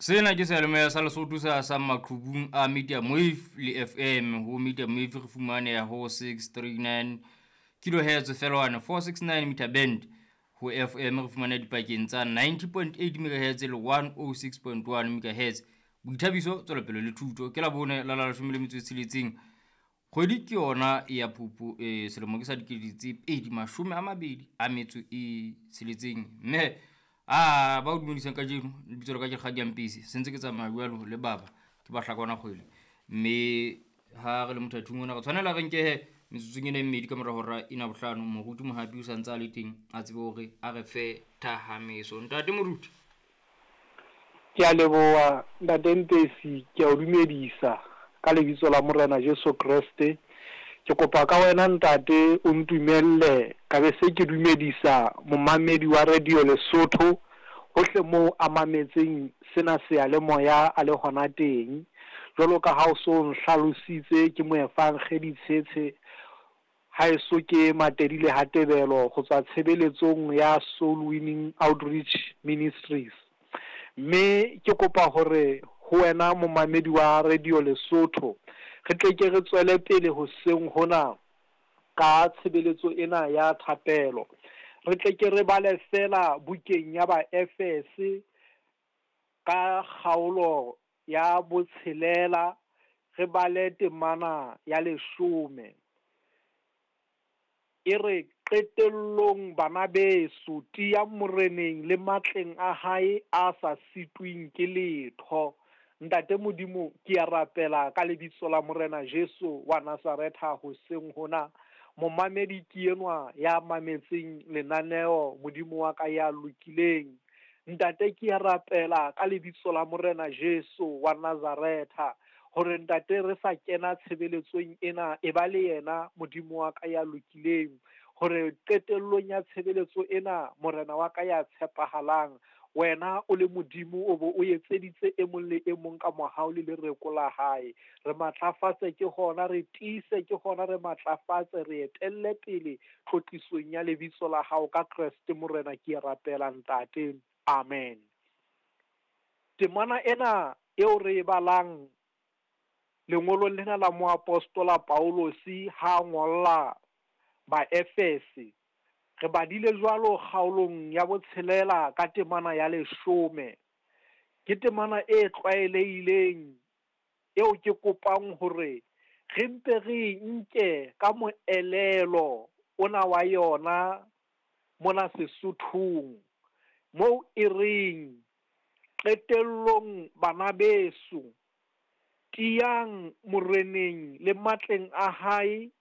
Sena ke seyalemoya sa Lesotho se hasang maqhubung a Medium Wave le FM. Ho Medium Wave re fumaneha ho 639 kilohertz feelwane 469 meter band. Ho FM re fumaneha dipakeng tsa 90.8 megahertz le 106.1 megahertz. Boithabiso, tswelopele le thuto. Ke Labone la la leshome le metso e tsheletseng. Kgwedi ke yona ya Phupu, selemo ke sa dikete tse pedi mashome a mabedi a metso e tsheletseng. Mme a ba o dumedisang kajeno, lebitso la ka ke Kgadi Mpisi, se ntse ke tsamaya jwalo le baba ke ba hlakwana kgwele. Mme ha re le mothathung ona re tshwanela re nkehe metsotsong ena e mmedi ka mora hora ena bohlano. Moruti Mohapi o sa ntse a le teng, a tsebe hore a re fe thahameso. Ntate Moruti. Ke a leboha Ntate Mpesi, ke a o dumedisa ka lebitso la Morena Jesu Kreste. Ke kopa ka wena ntate o ntumelle ka be se ke dumedisa momamedi wa Radio Lesotho hohle moo a mametseng sena seyalemoya a le hona teng. Jwalo ka ha o so nhlalositse ke moefangedi Tshetshe haeso ke Matedile ha Tebelo ho tswa tshebeletsong ya Soul Winning Outreach Ministries. Mme ke kopa hore ho wena momamedi wa Radio Lesotho re tle ke re tswele pele hoseng hona ka tshebeletso ena ya thapelo. Re tle ke re bale fela bukeng ya Baefese ka kgaolo ya botshelela, re bale temana ya leshome. E re, Qetellong, bana beso, tiyang Moreneng le matleng a hae a sa sitweng ke letho. Ntate Modimo, ke a rapela ka lebitso la Morena Jesu wa Nazaretha hoseng hona. Momamedi ke enwa ya mametseng lenaneo, Modimo wa ka ya lokileng. Ntate, ke a rapela ka lebitso la Morena Jesu wa Nazaretha hore ntate re sa kena tshebeletsong ena, e ba le yena Modimo wa ka ya lokileng, hore qetellong ya tshebeletso ena, Morena wa ka ya tshepahalang, wena o le Modimo o bo o etseditse e mong le e mong ka mohau le lereko la hae. Re matlafatse ke hona, re tiise ke hona, re matlafatse, re etelle pele tlotlisong ya lebitso la hao ka Kreste Morena ke a rapela ntate. Amen. Temana ena eo re e balang lengolong lena la moapostola Paulosi ha a ngolla Baefese, re badile jwalo kgaolong ya botshelela ka temana ya leshome. Ke temana e tlwaelehileng eo ke kopang hore re mpe re e nke ka moelelo ona wa yona mona Sesothong, moo e reng, Qetellong bana beso, tiyang Moreneng le matleng a hae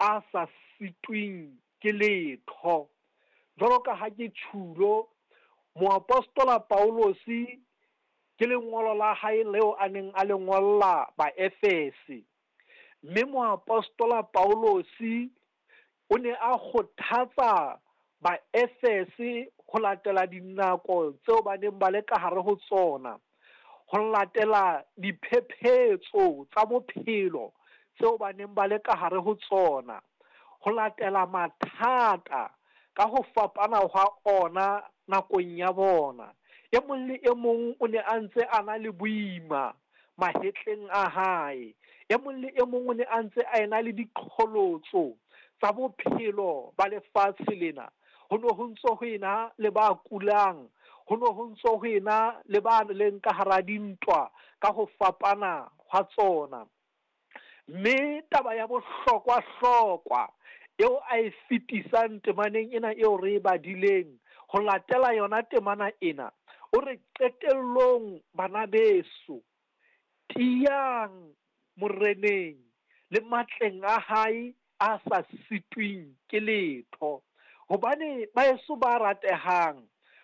a sa sitweng ke letho. Jwalo ka ha ke tjhulo, moapostola Paulosi ke lengolo la hae leo a neng a le ngolla Baefese. Mme moapostola Paulosi o ne a kgothatsa Baefese ho latela dinako tseo ba neng ba le ka hare ho tsona, ho latela diphephetso tsa bophelo tseo ba neng ba le ka hare ho tsona, ho latela mathata ka ho fapana hwa ona nakong ya bona. E mong le e mong o ne a ntse a na le boima mahetleng a hae. E mong le e mong o ne a ntse a ena le diqholotso tsa bophelo ba lefatshe lena. Ho ne ho ntso ho ena le ba kulang, ho ne ho ntso ho ena le ba leng ka hara dintwa ka ho fapana hwa tsona. Mme taba ya bohlokwa-hlokwa eo a e fetisang temaneng ena eo re e badileng, ho latela yona temana ena, o re qetellong bana beso, tiyang Moreneng le matleng a hae a sa sitweng ke letho. Hobane baeso ba ratehang,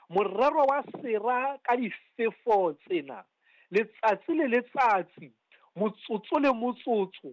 morero wa sera ka difefo tsena, letsatsi le letsatsi, motsotso le motsotso,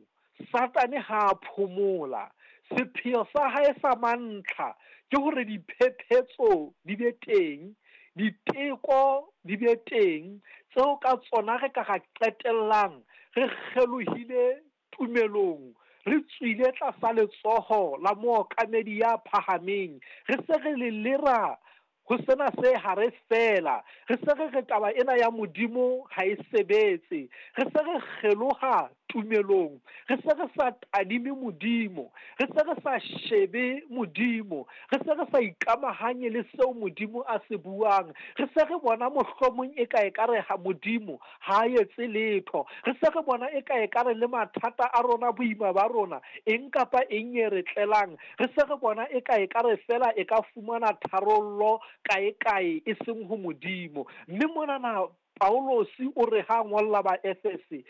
Satane ha a phomola. Sepheo sa hae sa mantlha ke hore diphephetso di be teng, diteko di be teng, tseo ka tsona re ka ra qetellang re kgelohile tumelong, re tswile tlasa letsoho la mookamedi ya phahameng, re se re lelera Ho sena se hare feela. Re se re re taba ena ya Modimo ha e sebetse. Re se re kgeloha tumelong. Re se re sa tadime Modimo. Re se re sa shebe Modimo. Re se re sa ikamahanye le seo Modimo a se buang. Re se re bona mohlomong e ka ekare ha Modimo ha a etse letho. Re se re bona e ka ekare le mathata a rona, boima ba rona, eng kapa eng e re tlelang, Re se re bona eka ekare feela e ka fumana tharollo kae-kae e seng ho Modimo. Mme monana Paulosi o re ha a ngolla Baefese,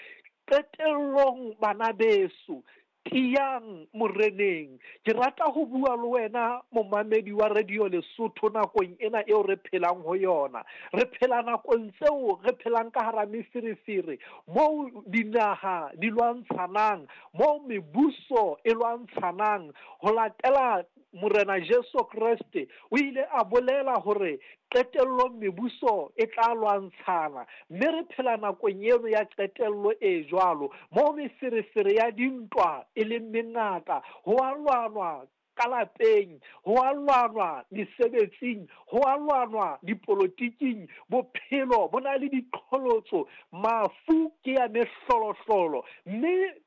Qetellong, bana beso, tiyang Moreneng. Ke rata ho bua le wena momamedi wa Radio Lesotho nakong ena eo re phelang ho yona. Re phela nakong tseo re phelang ka hara meferefere, moo dinaha di lwantshanang, moo mebuso e lwantshanang ho latela Morena Jesu Kreste, o ile a bolela hore qetellong mebuso e tla lwantshana. Mme re phela nakong eno ya qetello e jwalo, moo meferefere ya dintwa e leng mengata, ho a lwanwa ka lapeng, ho a lwanwa mesebetsing, ho a lwanwa dipolotiking, bophelo bo na le diqholotso, mafu ke ya mehlolohlolo. Mme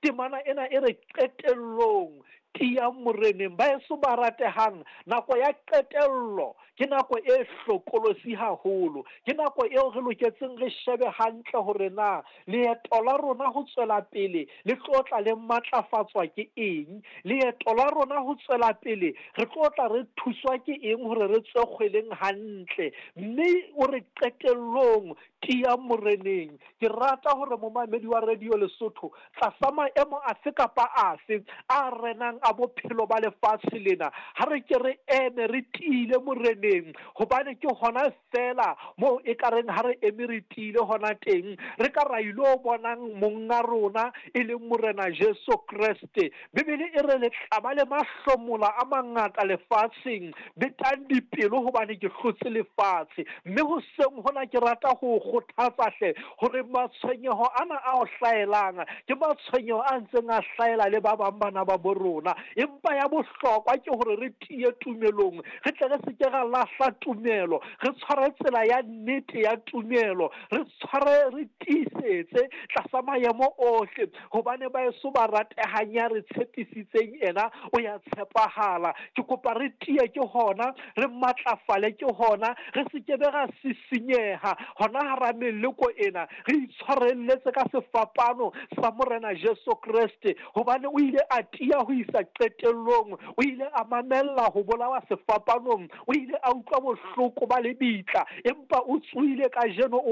temana ena e re qetellong, tiyang Moreneng. Baeso ba ratehang, nako ya qetello ke nako e hlokolosi haholo. Ke nako eo re loketseng re shebe hantle hore na leeto la rona ho tswela pele le tlo tla le matlafatswa ke eng. Leeto la rona ho tswela pele re tlo tla re thuswa ke eng hore re tswe kgweleng hantle. Mme o re qetellong, tiyang Moreneng. Ke rata hore momamedi wa Radio Lesotho, tlasa maemo afe kapa afe a renang a bophelo ba lefatshe lena, ha re ke re eme re tiile Moreneng, hobane ke hona feela moo e ka reng ha re eme re tiile hona teng, re ka ra ilo bonang Monga rona, e leng Morena Jesu Kreste. Bibele e re le tla ba le mahlomola a mangata lefatsheng, betang dipelo hobane ke hlotse lefatshe. Mme hoseng hona ke rata ho o kgothatsa hle hore matshwenyeho ana a o hlahelang ke matshwenyeho a ntseng a hlahela le ba bang bana ba bo rona. Empa ya bohlokwa ke hore re tiye tumelong, re tle re se ke ra lahla tumelo, re tshware tsela ya nnete ya tumelo, re tshware re tiisetse tlasa maemo ohle. Hobane baeso ba ratehang ya re tshepisitseng ena o ya tshepahala. Ke kopa re tiye ke hona, re matlafale ke hona, re se ke be ra sisinyeha hona hara meleko ena, re itshwarelletse ka sefapano sa Morena Jesu Kreste, hobane o ile a tiya ho isa qetellong, o ile a mamella ho bolawa sefapanong, o ile a utlwa bohloko ba lebitla, empa o tsohile kajeno o.